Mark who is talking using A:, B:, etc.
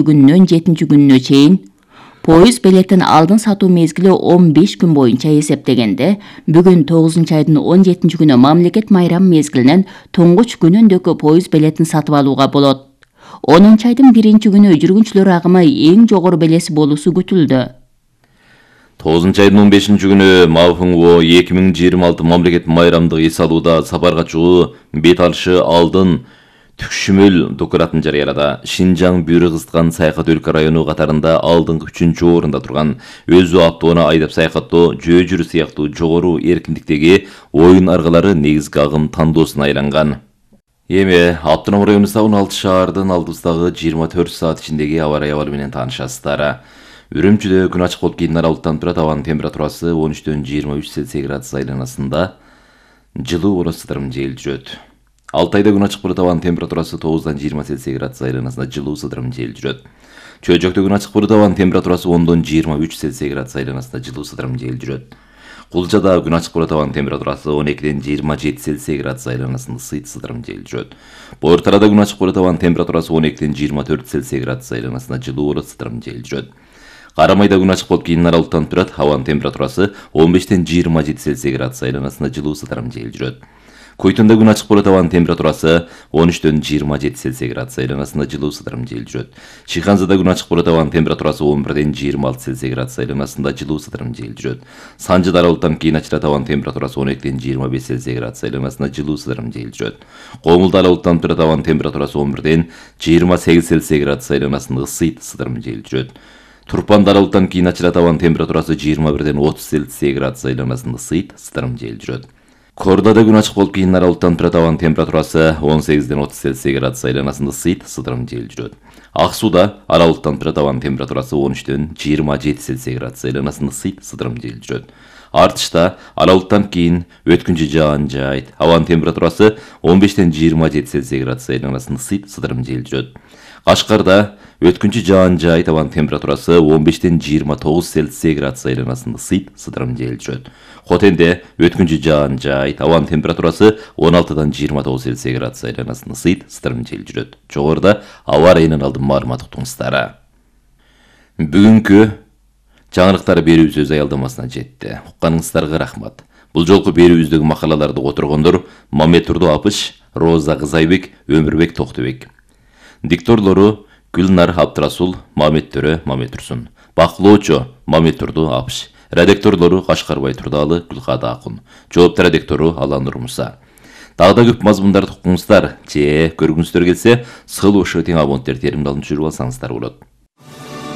A: күнүнөн 7-күнүнө чейин, поезд билетин алдын сатуу мезгили 15 күн боюнча эсептегенде, бүгүн 9-айдын 17-күнү мамлекет майрам мезгилинен туңгуч күнүндөгү поезд билетин сатып алууга болот. 10-айдын 1-күнү жүргүнчүлөр агымы эң жогору белеси болуусу күтүлдү.
B: 9-айдын 15-күнү МАФНГО 2026 мамлекет майрамдык эс алууда сапарга чыгуу бет алышы алдын түкшүмөл документин жарыялады. Шинжаң бүйрө кызыткан саякат өлкө району катарында алдыңкы 3-орунда турган, өзү автоуна айдап саякаттоо, жөө жүрүү сыяктуу жогору эркиндиктеги оюн аргалары негизги агым тандоосуна айланган. Эми Автоном районундагы 16 шаардын алдыбыздагы 24 саат ичиндеги аба ырайы абалы менен таанышасыздар. Үрүмчүдө күн ачык болуп кийин аралыктан турат, абанын температурасы 13-төн 23 Цельсий градус айланасында, жылуу болот, сыдырым жел жүрөт. Алтайда күн ачык болот, абанын температурасы 9-дан 20 Цельсий градус айланасында, жылуу, сыдырым жел жүрөт. Чөйжөктө күн ачык болот, абанын температурасы 10-дон 23 Цельсий градус айланасында, жылуу, сыдырым жел жүрөт. Кулжада күн ачык болот, абанын температурасы 12-ден 27 Цельсий градус айланасында, сыйт, сыдырым жел жүрөт. Боортарада күн ачык болот, абанын температурасы 12-ден 24 Цельсий градус айланасында, жылуу болот, сыдырым жел жүрөт. Карамайда күн ачык болуп кийин аралыктан турат, абанын температурасы 15-тен 27 Цельсий градус айланасында, жылуу, сыдырым жел жүрөт. Койтонда күн ачык болот, абанын температурасы 13-төн 27 Цельсий градус айланасында, жылуу, сыдырым жел жүрөт. Шиханзада күн ачык болот, абанын температурасы 11-ден 26 Цельсий градус айланасында, жылуу, сыдырым жел жүрөт. Санжыда аралыктан кийин ачылат, абанын температурасы 12-ден 25 Цельсий градус айланасында, жылуу, сыдырым жел жүрөт. Коңулда аралыктан турат, абанын температурасы 11-ден 28 Цельсий градус айланасында, ысыйт, сыдырым жел жүрөт. Турпанда аралыктан кийин ачылат, абанын температурасы 21-ден 30 Цельсий градус айланасында, ысыйт, сыдырым жел жүрөт. Кордада күн ачык болуп кийин аралыктан турат, абанын температурасы 18-ден 30 Цельсий градус айланасында, ысыйт, сыдырым жел жүрөт. Ак сууда аралыктан турат, абанын температурасы 13-ден 27 Цельсий градус айланасында, ысыйт, сыдырым жел жүрөт. Артышта аралыктан кийин өткүнчү жаан жаайт, абанын температурасы 15-ден 27 Цельсий градус айланасында, ысыйт, сыдырым жел жүрөт. Кашкарда өткүнчү жаан жаайт, абанын температурасы 15-ден 29 Цельсий градус айланасында, ысыйт, сыдырым жел жүрөт. Хотенде өткүнчү жаан жаайт, абанын температурасы 16-дан 29 Цельсий градус айланасында, ысыйт, сыдырым жел жүрөт. Жогоруда аба ырайынан алдын маалымат уктуңуздар. Бүгүнкү жаңылыктар берүүбүз өз аялдамасына жетти. Укканыңыздарга рахмат. Бул жолку берүүбүздөгү макалаларды которгондор Мамедтурду Апыш, Роза Кызайбек, Өмүрбек Токтобек. Дикторлору Гүлнар Абдрасул, Мамедтөрө Мамедтурсун. Бакылоочу Мамедтурду Апыш. Редакторлору Кашкарбай Турдалы, Гүлкада Акун. Жооптор редактору Аланур Муса. Дагы да көп мазмундарды укуңуздар, же көргүңүздөр келсе, сыл ошо тең абоненттер теримдалын жүрүп алсаңыздар болот.